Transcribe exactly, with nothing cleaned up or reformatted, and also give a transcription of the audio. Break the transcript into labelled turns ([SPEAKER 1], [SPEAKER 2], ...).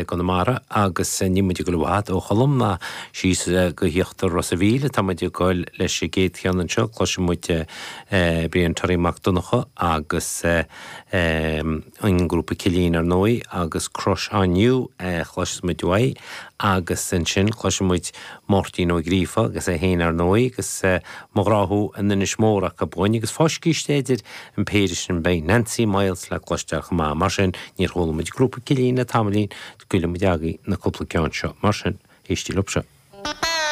[SPEAKER 1] gConamara agus níl muid ag dul i bhfad ó Cholm ná síos go híochtar Ros a' Mhíl atá muid ag dul leis an gcéad cheann anseo cloisfidh muid Brian Toraí Mac Donncha agus an grúpa Cillín ar ndóigh agus Crush on You a chloisfidh muid uaidh agus ansin cloisfidh muid Máirtín Ó Gríofa agus é féin ar ndóigh agus Mo Ghrá Thú an Inis Mór acu uainn agus fá scíste idir an péire sin beidh Nancy Myles le cloisteáil chomh maith mar sin níor chuala muid grúpa Cillín le tamaillín scaoilfidh muid agaibh na cúpla ceann seo mar sin éistigí leo seo.